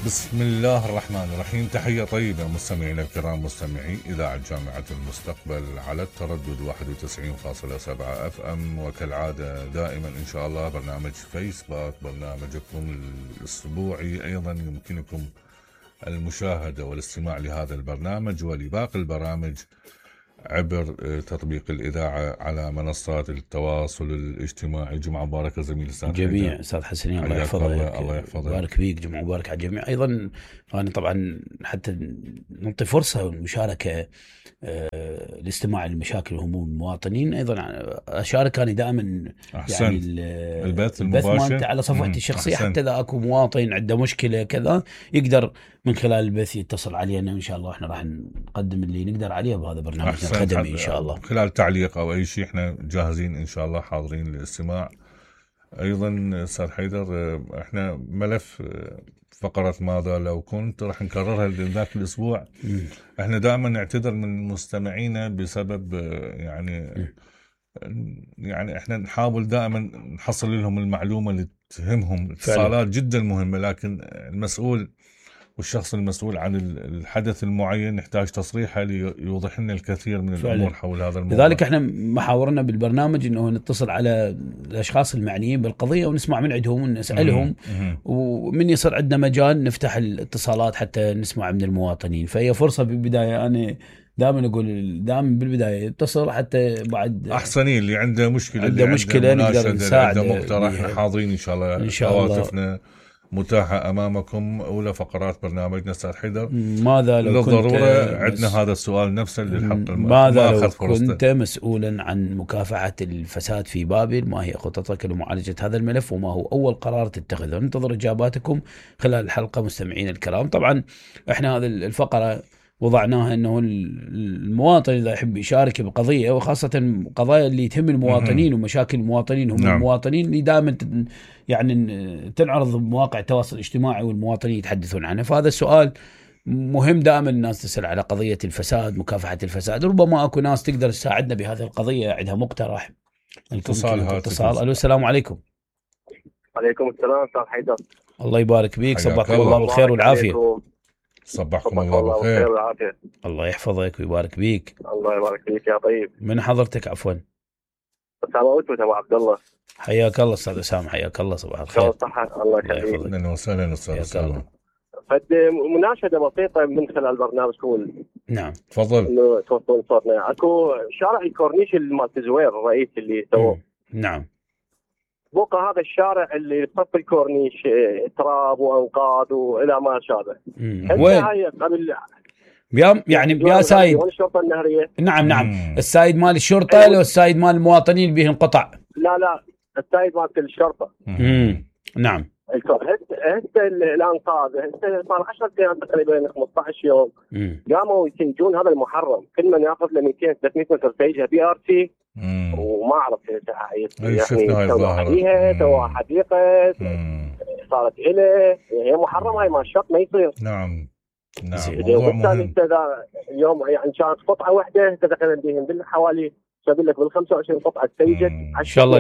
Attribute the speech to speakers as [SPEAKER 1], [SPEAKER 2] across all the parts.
[SPEAKER 1] بسم الله الرحمن الرحيم. تحية طيبة مستمعينا الكرام، مستمعي إذاعة جامعة المستقبل على التردد 91.7 FM، وكالعادة دائما إن شاء الله برنامج فيسبوك، برنامجكم الأسبوعي. أيضا يمكنكم المشاهدة والاستماع لهذا البرنامج ولباقي البرامج عبر تطبيق الإذاعة على منصات التواصل الاجتماعي. جمعة مباركة زميل أستاذ
[SPEAKER 2] جميع أستاذ حسنين، الله يحفظك.
[SPEAKER 1] الله يحفظك،
[SPEAKER 2] بارك فيك. جمعة مباركة على الجميع. أيضا أنا طبعا حتى نعطي فرصة والمشاركة الاستماع لمشاكل وهموم المواطنين. أيضا أشارك أنا دائما يعني
[SPEAKER 1] البث المباشر
[SPEAKER 2] على صفحتي الشخصية، حتى إذا أكو مواطن عنده مشكلة كذا يقدر من خلال البث يتصل علينا، وإن شاء الله إحنا راح نقدم اللي نقدر عليه بهذا برنامجنا الخدمي إن شاء الله.
[SPEAKER 1] خلال تعليق أو أي شيء إحنا جاهزين إن شاء الله، حاضرين للاستماع. أيضا أستاذ حيدر، إحنا ملف فقرة ماذا لو كنت راح نكررها لذاك الأسبوع. إحنا دائما نعتذر من مستمعينا بسبب يعني إحنا نحاول دائما نحصل لهم المعلومة اللي تهمهم. اتصالات جدا مهمة، لكن المسؤول والشخص المسؤول عن الحدث المعين نحتاج تصريحه ليوضح لنا الكثير من الأمور حول هذا الموضوع.
[SPEAKER 2] لذلك احنا محاورنا بالبرنامج انه نتصل على الاشخاص المعنيين بالقضيه ونسمع من عندهم ونسالهم، ومن يصير عندنا مجال نفتح الاتصالات حتى نسمع من المواطنين. فهي فرصه بالبدايه، انا دائما اقول دائما بالبدايه اتصل حتى بعد
[SPEAKER 1] احسنين اللي عنده مشكله
[SPEAKER 2] نقدر نساعد،
[SPEAKER 1] عنده مقترح. حاضرين ان شاء الله.
[SPEAKER 2] ان شاء الله
[SPEAKER 1] هواتفنا متاحة أمامكم. أولى فقرات برنامجنا أستاذ حيدر،
[SPEAKER 2] ماذا لو
[SPEAKER 1] للضرورة عندنا هذا السؤال نفسه للحق.
[SPEAKER 2] ماذا لو كنت مسؤولا عن مكافحة الفساد في بابل؟ ما هي خططك لمعالجة هذا الملف، وما هو أول قرار تتخذه؟ ننتظر إجاباتكم خلال الحلقة مستمعين الكرام. طبعا إحنا هذه الفقرة وضعناها أنه المواطن إذا يحب يشارك بقضية، وخاصة قضايا اللي تهم المواطنين ومشاكل المواطنين هم المواطنين اللي دائما يعني تنعرض بمواقع التواصل الاجتماعي والمواطنين يتحدثون عنها. فهذا السؤال مهم، دائما الناس تسأل على قضية الفساد، مكافحة الفساد. ربما أكو ناس تقدر تساعدنا بهذه القضية، عندها مقترح. اتصال. ألو، السلام عليكم.
[SPEAKER 3] عليكم السلام أستاذ حيدر،
[SPEAKER 2] الله يبارك بيك. صباحكم الله بالخير والعافية.
[SPEAKER 1] صبحكم الله بالخير
[SPEAKER 3] والعافية.
[SPEAKER 2] الله يحفظك ويبارك بيك.
[SPEAKER 3] الله يبارك فيك يا طيب.
[SPEAKER 2] من حضرتك عفوا؟
[SPEAKER 3] أسامة أبو عبد الله.
[SPEAKER 2] حياك الله أستاذ أسامة، حياك الله. صباح الخير.
[SPEAKER 3] صحة الله يخليك.
[SPEAKER 1] أهلا وسهلا أستاذ أسامة.
[SPEAKER 3] فد مناشدة بسيطة من خلال برنامجكم.
[SPEAKER 2] نعم
[SPEAKER 1] تفضل.
[SPEAKER 3] إنه توصلون صوتنا. أكو شارع الكورنيش مالت الزوير الرئيس اللي سووه.
[SPEAKER 2] نعم.
[SPEAKER 3] بقى هذا الشارع اللي بصف الكورنيش تراب وأنقاض وإلى ما شابه.
[SPEAKER 2] وين؟
[SPEAKER 3] هاي قبل
[SPEAKER 2] يعني يا سايد.
[SPEAKER 3] الشرطة النهرية.
[SPEAKER 2] نعم. السايد مال الشرطة لو السايد مال المواطنين بهم قطع؟
[SPEAKER 3] لا السايد مال الشرطة.
[SPEAKER 2] نعم.
[SPEAKER 3] هسه الانقاذ صار 10 ايام تقريبا 15 يوم قاموا يسيجون هذا المحرم. كل من ياخذ له 200 300 متر سيجها بي ار سي، وما اعرف يعني سوى حديقه صارت له، هي محرم. هاي ما الشرط ما يصير.
[SPEAKER 1] نعم.
[SPEAKER 3] وبالتالي اليوم يعني كانت قطعه واحده تدخل بهم بالحوالي اقول لك بال 25 قطعه سيجت.
[SPEAKER 2] ان شاء الله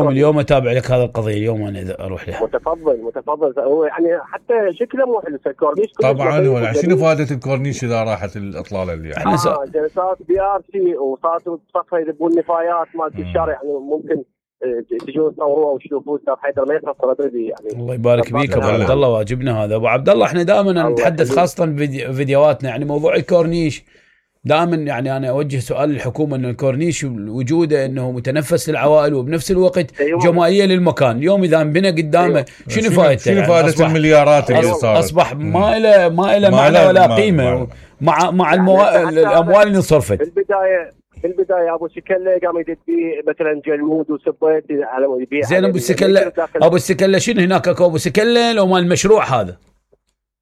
[SPEAKER 2] اليوم اتابع لك هذه القضيه. اليوم انا اذا اروح لها.
[SPEAKER 3] متفضل. هو يعني حتى شكله مو حلو الكورنيش
[SPEAKER 1] طبعا. ولا شنو فائده الكورنيش اذا راحت الاطلاله اللي
[SPEAKER 3] يعني جلسات بي ار سي وصاروا بصفه يذبون نفايات مالت الشارع. يعني ممكن تجون تصوروها وتشوفوا استاذ حيدر ما يخسر ادري يعني.
[SPEAKER 2] الله يبارك فيك ابو عبد الله، واجبنا هذا. ابو عبد الله احنا دائما نتحدث خاصه بفيديوهاتنا يعني موضوع الكورنيش. دائما يعني انا اوجه سؤال للحكومه انه الكورنيش وجوده انه متنفس للعوائل وبنفس الوقت جماليه للمكان. اليوم اذا انبنى قدامه شنو فائدته؟
[SPEAKER 1] شنو فائده المليارات اللي صارت؟
[SPEAKER 2] اصبح ما له معنى ولا قيمه مع الاموال اللي انصرفت.
[SPEAKER 3] في البدايه ابو سكله قام يدق بيه مثلا جلمود وسبيت على يبيع.
[SPEAKER 2] زين ابو السكله شنو هناك اكو ابو سكله لو مال المشروع هذا؟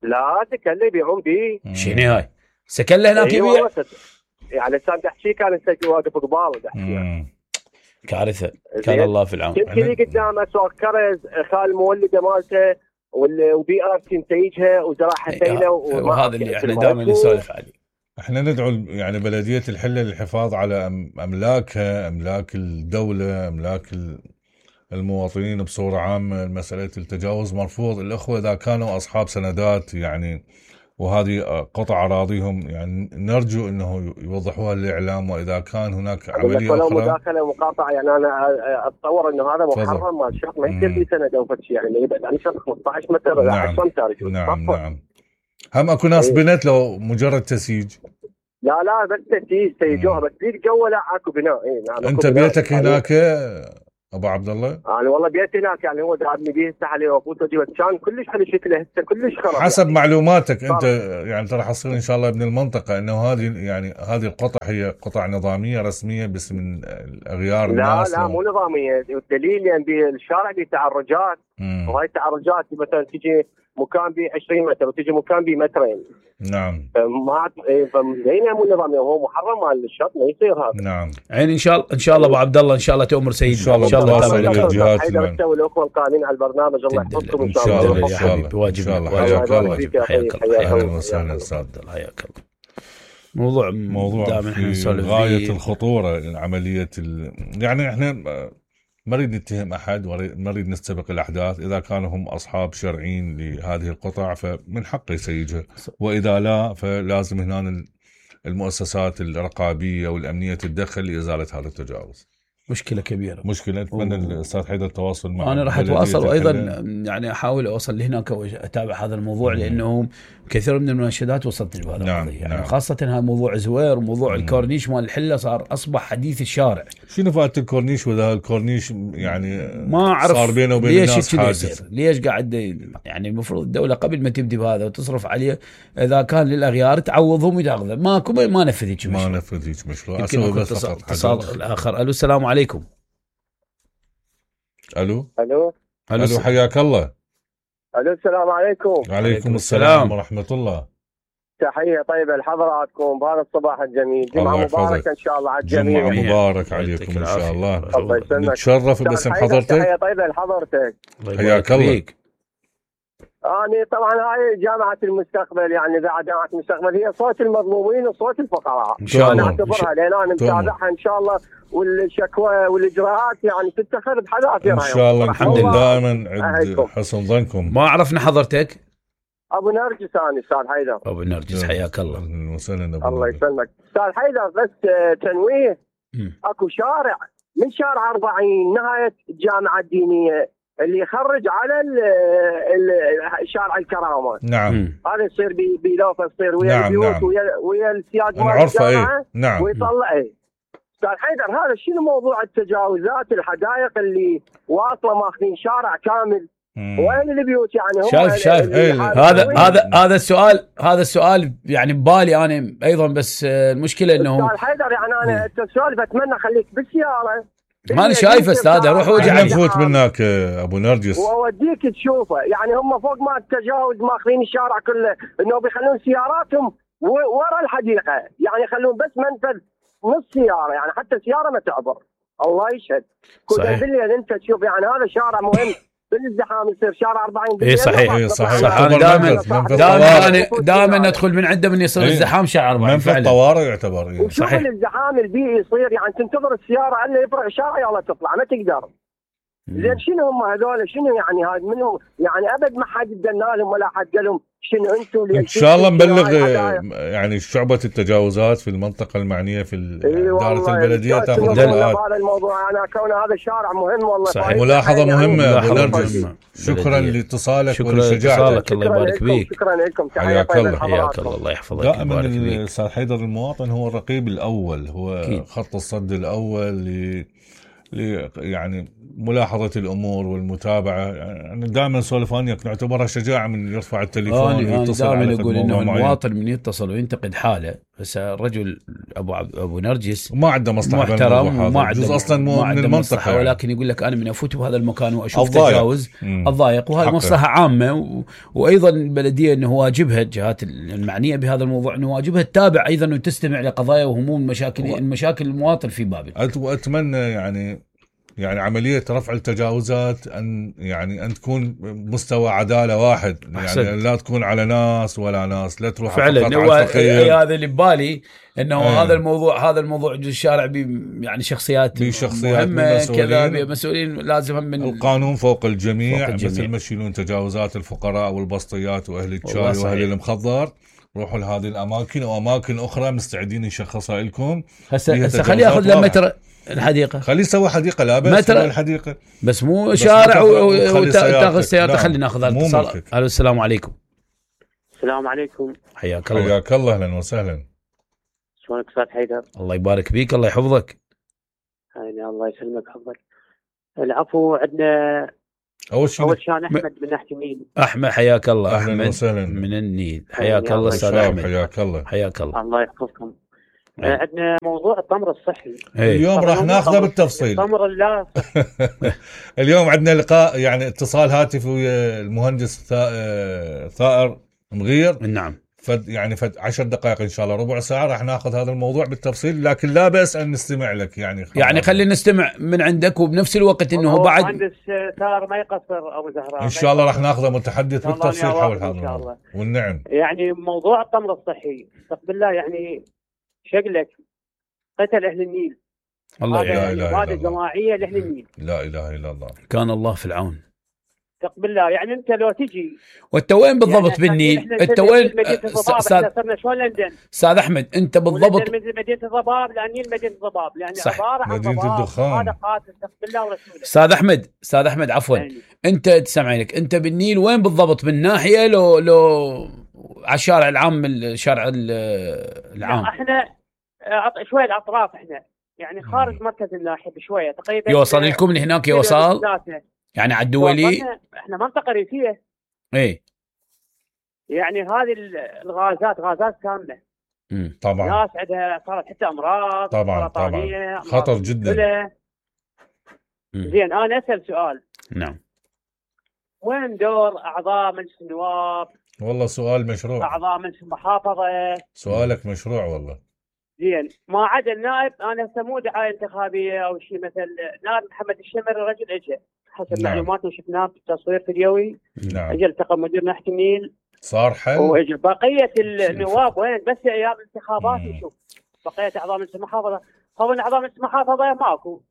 [SPEAKER 3] لا سكله يبيعون بيه.
[SPEAKER 2] شنو هاي؟ سكله هناك يبيع؟
[SPEAKER 3] يعني سام تحكي كان واقف قبال
[SPEAKER 2] كارثه. كان الله في العون.
[SPEAKER 3] تبكي قدامه سوق كرز خال المولده مالته وبي ار سي نتيجها وزراعه سيله.
[SPEAKER 2] وهذا اللي احنا دائما نسولف عليه.
[SPEAKER 1] احنا ندعو يعني بلديه الحله للحفاظ على املاكها، املاك الدوله، املاك المواطنين بصورة عامة مسألة التجاوز مرفوض. الأخوة إذا كانوا أصحاب سندات يعني وهذه قطع أراضيهم يعني نرجو أنه يوضحوها للإعلام، وإذا كان هناك عملية
[SPEAKER 3] ولو
[SPEAKER 1] أخرى
[SPEAKER 3] مداخلة ومقاطعة يعني أنا أتصور أنه هذا محرم مال شرط ما يصير في سند أو شيء يعني يبعد عن شرط 15 متر إلى 10 أمتار.
[SPEAKER 1] نعم. هم أكو ناس بنت لو مجرد تسييج؟
[SPEAKER 3] لا بس تسيجوها بس بيت جوا لا اكو بناء. نعم.
[SPEAKER 1] أنت بيتك هناك أبو عبد الله؟
[SPEAKER 3] أنا والله بيتي هناك يعني هو دابني بيه هسه عليه وفوت وجبت كان كلش على شكله هسه كلش خرب.
[SPEAKER 1] حسب يعني معلوماتك أنت يعني ترى حصير إن شاء الله ابن المنطقة إنه هذه القطع هي قطع نظامية رسمية باسم الأغيار الناس؟
[SPEAKER 3] لا مو نظامية. والدليل يعني بالشارع بتعرجات وهاي التعرجات مثلا تجي مكان ب 20 متر وتجي مكان ب مترين.
[SPEAKER 1] نعم.
[SPEAKER 3] فما فمزين مو نظامي وهو محرم مال الشط ما يصير هذا.
[SPEAKER 1] نعم.
[SPEAKER 2] يعني ان شاء الله ابو عبد الله ان شاء الله تؤمر سيدنا
[SPEAKER 1] ان شاء الله تابع الجهات
[SPEAKER 3] حيدر والاخوه القائمين على البرنامج الله يحفظكم
[SPEAKER 1] ان شاء الله
[SPEAKER 2] يا حبيبي واجبنا.
[SPEAKER 1] حياك الله.
[SPEAKER 2] اهلا
[SPEAKER 1] وسهلا
[SPEAKER 2] استاذ. حياك الله. موضوع
[SPEAKER 1] في غاية الخطورة عملية يعني احنا ما نريد نتهم أحد وما نريد نستبق الأحداث. إذا كانوا هم أصحاب شرعيين لهذه القطع فمن حقه يسيجها، وإذا لا فلازم هنا المؤسسات الرقابية والأمنية تتدخل لإزالة هذا التجاوز.
[SPEAKER 2] مشكلة كبيرة.
[SPEAKER 1] مشكلة. أتمنى الأستاذ حيدر التواصل معه.
[SPEAKER 2] أنا راح أتواصل وأيضا يعني أحاول أوصل لهناك وأتابع هذا الموضوع لأنه كثير من المناشدات وصلتني بهذا القضية يعني خاصة هذا موضوع زوير وموضوع الكورنيش مال الحلة أصبح حديث الشارع.
[SPEAKER 1] شنو فائدة الكورنيش وإذا الكورنيش يعني
[SPEAKER 2] ما أعرف
[SPEAKER 1] صار بينه وبين الناس حاجز؟
[SPEAKER 2] ليش قاعد يعني المفروض الدولة قبل ما تبدي بهذا وتصرف عليه إذا كان للأغيار تعوضهم وتأخذه. ما نفذ هيك مشروع.
[SPEAKER 1] ما نفذ هيك مشروع. أسوي بس فقط
[SPEAKER 2] اتصال الآخر. ألو السلام عليكم.
[SPEAKER 1] الو
[SPEAKER 3] حياك
[SPEAKER 1] الله.
[SPEAKER 3] الو السلام عليكم.
[SPEAKER 1] وعليكم السلام ورحمه الله.
[SPEAKER 3] تحيه طيبه لحضراتكم بهذا الصباح الجميل. جمعه مباركه ان شاء الله على الجميع.
[SPEAKER 1] جمعه مبارك عليكم ان شاء الله.
[SPEAKER 3] الله يسلمك.
[SPEAKER 1] نتشرف باسم حضرتك.
[SPEAKER 3] تحيه طيبه لحضرتك.
[SPEAKER 1] حياك الله.
[SPEAKER 3] أنا طبعا هاي جامعة المستقبل يعني إذاعة جامعة المستقبل هي صوت المظلومين وصوت الفقراء.
[SPEAKER 2] إن شاء الله.
[SPEAKER 3] أنا أعتبرها لأن أنا متابعها إن شاء الله والشكوى والإجراءات يعني تتخذ بحذافيرها.
[SPEAKER 1] إن شاء الله نكون دائما عند حسن ظنكم.
[SPEAKER 2] ما عرفنا حضرتك؟
[SPEAKER 3] أبو نرجس أنا أستاذ حيدر.
[SPEAKER 2] أبو نرجس حياك الله.
[SPEAKER 3] الله يسلمك أستاذ حيدر. بس تنويه أكو شارع من شارع 40 نهاية الجامعة الدينية اللي يخرج على شارع الكرامات.
[SPEAKER 1] نعم.
[SPEAKER 3] هذا يصير بلوفه يصير ويا البيوت ويا السياج مال
[SPEAKER 1] الجامعه. نعم.
[SPEAKER 3] ويطلع استاذ حيدر هذا شنو موضوع التجاوزات الحدائق اللي واصله ماخذين شارع كامل. وين البيوت يعني هم
[SPEAKER 2] شايف هذا السؤال يعني ببالي انا ايضا. بس المشكله انه
[SPEAKER 3] استاذ حيدر يعني انا السؤال بتمنى خليك بالسياره.
[SPEAKER 2] ما انا شايف استاذ اروح وجه
[SPEAKER 1] نفوت منك ابو نرجس
[SPEAKER 3] واوديك تشوفه. يعني هم فوق ما التجاوز ماخذين الشارع كله انه بيخلون سياراتهم ورا الحديقه يعني يخلون بس منفذ نص سياره يعني حتى سياره ما تعبر. الله يشهد.
[SPEAKER 2] صحيح.
[SPEAKER 3] بالليل انت تشوف يعني هذا شارع مهم بالازدحام يصير شارع 40 بالليل.
[SPEAKER 2] اي صحيح. دائما ندخل من عنده من يصير ازدحام شارع 40
[SPEAKER 1] منفذ طوارئ يعتبر.
[SPEAKER 3] صحيح. الازدحام البيئي يصير يعني تنتظر السياره الا يفرع شارع يلا تطلع ما تقدر. زين شنو هم هذول شنو يعني هذا منهم يعني ابد ما حد دنا لهم ولا حد قال لهم شنو انتم.
[SPEAKER 1] ان شاء الله نبلغ يعني شعبة التجاوزات في المنطقة المعنية في إدارة البلدية تاخذ
[SPEAKER 3] اجراءات. هذا الموضوع انا كون هذا شارع مهم والله.
[SPEAKER 1] صحيح. ملاحظة مهمة ابو نرجس. شكرا لاتصالك ولشجاعتك.
[SPEAKER 2] الله يبارك فيك.
[SPEAKER 3] شكرا لكم.
[SPEAKER 1] حياك الله.
[SPEAKER 2] حياك الله. الله يحفظك.
[SPEAKER 1] دائما الاستاذ حيدر المواطن هو الرقيب الاول. هو خط الصد الاول يعني ملاحظة الأمور والمتابعة. يعني دائما نسولف وياك نعتبرها شجاعة من يرفع التليفون ويتصل على
[SPEAKER 2] دائما أقول إنه المواطن من يتصل وينتقد حاله. بس الرجل أبو نرجس
[SPEAKER 1] ما عنده مصلحة
[SPEAKER 2] محترم وما عنده
[SPEAKER 1] أصلا من المنطقة
[SPEAKER 2] يعني. ولكن يقول لك أنا من أفوت بهذا المكان وأشوف تجاوز الضايق وهذه مصلحة عامة. وأيضا البلدية إنه واجبها الجهات المعنية بهذا الموضوع إنه واجبها تتابع أيضا وتستمع لقضايا وهموم المشاكل المواطن في بابل.
[SPEAKER 1] وأتمنى يعني يعني عملية رفع التجاوزات أن تكون مستوى عدالة واحد. يعني لا تكون على ناس ولا ناس، لا تروح
[SPEAKER 2] فعلا. هو هذا اللي ببالي انه هذا الموضوع الشارع يعني شخصيات مهمة كذا، مسؤولين لازم من
[SPEAKER 1] القانون فوق الجميع. مثل ما يشيلون تجاوزات الفقراء والبسطيات واهل الشاي واهل المخضر، روحوا لهذه الاماكن واماكن اخرى مستعدين نشخصها لكم.
[SPEAKER 2] هسه خليه ياخذ له متر الحديقه،
[SPEAKER 1] خليه يسوي حديقه، لا بس الحديقه
[SPEAKER 2] بس مو شارع وتاخذ السيارة. خلينا ناخذ الاتصال. الو السلام عليكم.
[SPEAKER 3] السلام عليكم.
[SPEAKER 2] حياك الله.
[SPEAKER 1] حياك الله، اهلا وسهلا.
[SPEAKER 3] شلونك استاذ حيدر؟
[SPEAKER 2] الله يبارك فيك، الله يحفظك.
[SPEAKER 3] الله يسلمك حفظك. العفو. عندنا اول شان احمد من ناحيه النيل.
[SPEAKER 2] احمد حياك الله.
[SPEAKER 1] اهلا وسهلا
[SPEAKER 2] من النيل. حياك الله استاذ احمد.
[SPEAKER 1] حياك الله.
[SPEAKER 2] حياك الله.
[SPEAKER 3] الله يحفظكم. عندنا موضوع التمر الصحي.
[SPEAKER 1] اليوم راح ناخذه بالتفصيل.
[SPEAKER 3] التمر لا
[SPEAKER 1] اليوم عندنا لقاء، يعني اتصال هاتفي ويا المهندس ثائر مغير.
[SPEAKER 2] نعم.
[SPEAKER 1] يعني 10 دقائق ان شاء الله، ربع ساعه راح ناخذ هذا الموضوع بالتفصيل، لكن لا بأس ان نستمع لك. يعني
[SPEAKER 2] خلينا نستمع من عندك، وبنفس الوقت انه بعد
[SPEAKER 3] مهندس ثائر ما يقصر ابو زهراء
[SPEAKER 1] ان شاء الله راح ناخذه متحدث بالتفصيل حول هذا الموضوع. والنعم.
[SPEAKER 3] يعني موضوع التمر الصحي استغفر الله، يعني شكلك قتل اهل النيل.
[SPEAKER 1] الله لا اله الا الله.
[SPEAKER 3] جماعيه لاهل النيل.
[SPEAKER 1] لا اله الا الله.
[SPEAKER 2] كان الله في العون.
[SPEAKER 3] استغفر الله. يعني انت لو تجي
[SPEAKER 2] وانت وين بالضبط يعني بالنيل؟ انت وين
[SPEAKER 3] صرنا شلون لندن؟
[SPEAKER 2] استاذ احمد انت بالضبط
[SPEAKER 3] مدينه الضباب، لان مدينه الضباب يعني عباره عن
[SPEAKER 1] مدينه الدخان.
[SPEAKER 3] هذا قاتل. استغفر الله ورسوله.
[SPEAKER 2] استاذ احمد عفوا يعني. انت تسمعينك، انت بالنيل وين بالضبط؟ من ناحيه لو على الشارع العام، الشارع العام؟
[SPEAKER 3] احنا شويه الاطراف، احنا يعني خارج مركز الناحيه بشويه تقريبا.
[SPEAKER 2] يوصل لكم من هناك؟ يوصل يعني على الدولي.
[SPEAKER 3] احنا منطقه ريفيه.
[SPEAKER 2] ايه
[SPEAKER 3] يعني هذه غازات كامله.
[SPEAKER 1] طبعا
[SPEAKER 3] ناس عندها صارت حتى امراض
[SPEAKER 1] طبعا خطر جدا.
[SPEAKER 3] زين انا اسال سؤال.
[SPEAKER 2] نعم.
[SPEAKER 3] وين دور اعضاء مجلس النواب؟
[SPEAKER 1] والله سؤال مشروع.
[SPEAKER 3] اعضاء مجلس المحافظه.
[SPEAKER 1] سؤالك مشروع والله.
[SPEAKER 3] زين ما عدا النائب، انا هسه مو دعايه انتخابيه او شيء، مثل نائب محمد الشمر رجل اجى حسب معلوماتنا شفناه بالتصوير فيديوي.
[SPEAKER 1] نعم.
[SPEAKER 3] اجى التقى مدير ناحيه النيل
[SPEAKER 1] صار حل.
[SPEAKER 3] واجى بقيه النواب وين؟ بس ايام الانتخابات نشوف بقيه اعضاء مجلس المحافظه. طبعا اعضاء مجلس المحافظه ماكو،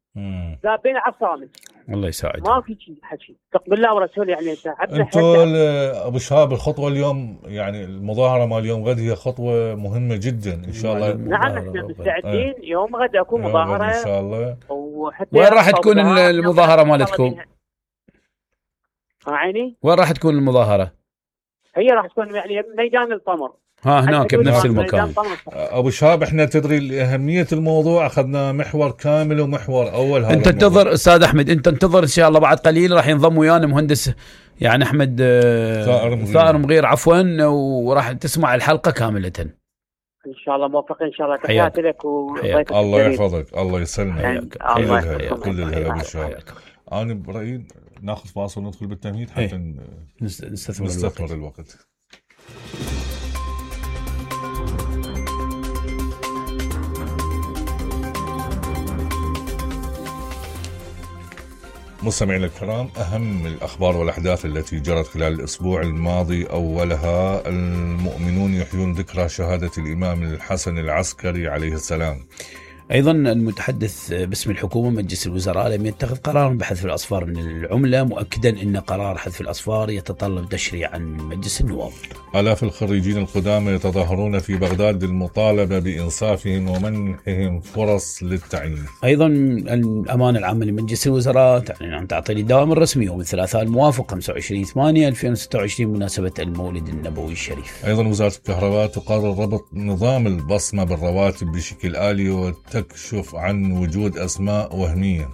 [SPEAKER 3] ذابين على الصامت.
[SPEAKER 2] الله يساعد.
[SPEAKER 3] ما في شيء حكي. استغفر الله ورسوله. يعني
[SPEAKER 1] انتوا ابو شهاب الخطوه اليوم، يعني المظاهره مال اليوم غد هي خطوه مهمه جدا ان شاء الله.
[SPEAKER 3] نعم احنا مستعدين. يوم غد اكو مظاهره
[SPEAKER 1] ان شاء الله.
[SPEAKER 2] وين راح تكون المظاهره مالتكم؟
[SPEAKER 3] عيني
[SPEAKER 2] وين راح تكون المظاهره؟
[SPEAKER 3] هي راح تكون يعني ميدان التمر.
[SPEAKER 2] هناك بنفس المكان.
[SPEAKER 1] ابو شهاب احنا تدري لاهميه الموضوع اخذنا محور كامل ومحور اول. هذا
[SPEAKER 2] انت انتظر استاذ احمد، انت انتظر ان شاء الله بعد قليل راح ينضم ويانا مهندس يعني احمد ثائر مغير عفوا، وراح تسمع الحلقه كامله
[SPEAKER 3] ان شاء الله. موفقين ان شاء الله. تحياتي لك وضيفك.
[SPEAKER 1] الله يحفظك. الله يسلمك. كل الهلا ابو شهاب. انا برايي ناخذ فاصل وندخل بالتمهيد حتى نستثمر الوقت. مستمعينا الكرام، أهم الأخبار والأحداث التي جرت خلال الأسبوع الماضي أولها المؤمنون يحيون ذكرى شهادة الإمام الحسن العسكري عليه السلام.
[SPEAKER 2] أيضا المتحدث باسم الحكومة مجلس الوزراء لم يتخذ قرارا بحذف الأصفار من العملة، مؤكدا أن قرار حذف الأصفار يتطلب تشريعا من مجلس النواب.
[SPEAKER 1] آلاف الخريجين القدامى يتظاهرون في بغداد للمطالبة بإنصافهم ومنحهم فرص للتعيين.
[SPEAKER 2] أيضا الأمانة العامة لمجلس الوزراء تعلن عن تعطيل الدوام الرسمي يوم الثلاثاء الموافق 25/8/2026 بمناسبة المولد النبوي الشريف.
[SPEAKER 1] أيضا وزارة الكهرباء تقرر ربط نظام البصمة بالرواتب بشكل آلي وتكشف عن وجود أسماء وهمية.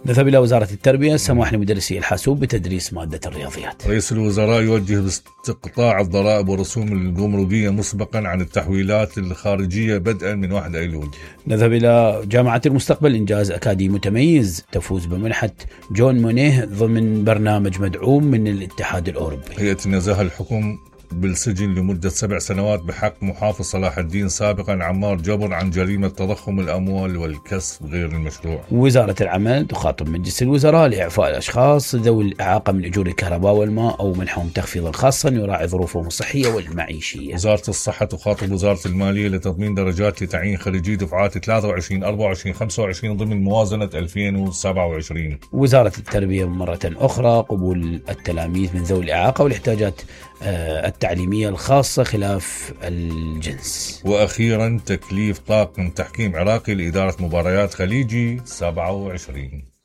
[SPEAKER 2] نذهب إلى وزارة التربية، سماح لمدرسي الحاسوب بتدريس مادة الرياضيات.
[SPEAKER 1] رئيس الوزراء يوجه باستقطاع الضرائب والرسوم الجمركية مسبقا عن التحويلات الخارجية بدءا من 1 أيلول.
[SPEAKER 2] نذهب إلى جامعة المستقبل، إنجاز أكاديمي متميز تفوز بمنحة جون مونيه ضمن برنامج مدعوم من الاتحاد الأوروبي.
[SPEAKER 1] هيئة النزاهة الحكم بالسجن لمدة 7 سنوات بحق محافظ صلاح الدين سابقا عمار جبر عن جريمة تضخم الأموال والكسب غير المشروع.
[SPEAKER 2] وزارة العمل تخاطب مجلس الوزراء لإعفاء الأشخاص ذوي الإعاقة من أجور الكهرباء والماء أو منحهم تخفيضا خاصا يراعي ظروفهم الصحية والمعيشية.
[SPEAKER 1] وزارة الصحة تخاطب وزارة المالية لتضمين درجات لتعيين خريجي دفعات 23 24 25 ضمن موازنة 2027.
[SPEAKER 2] وزارة التربية مرة أخرى قبول التلاميذ من ذوي الإعاقة والاحتياجات التعليمية الخاصة خلاف الجنس.
[SPEAKER 1] وأخيرا تكليف طاقم تحكيم عراقي لإدارة مباريات خليجي 27.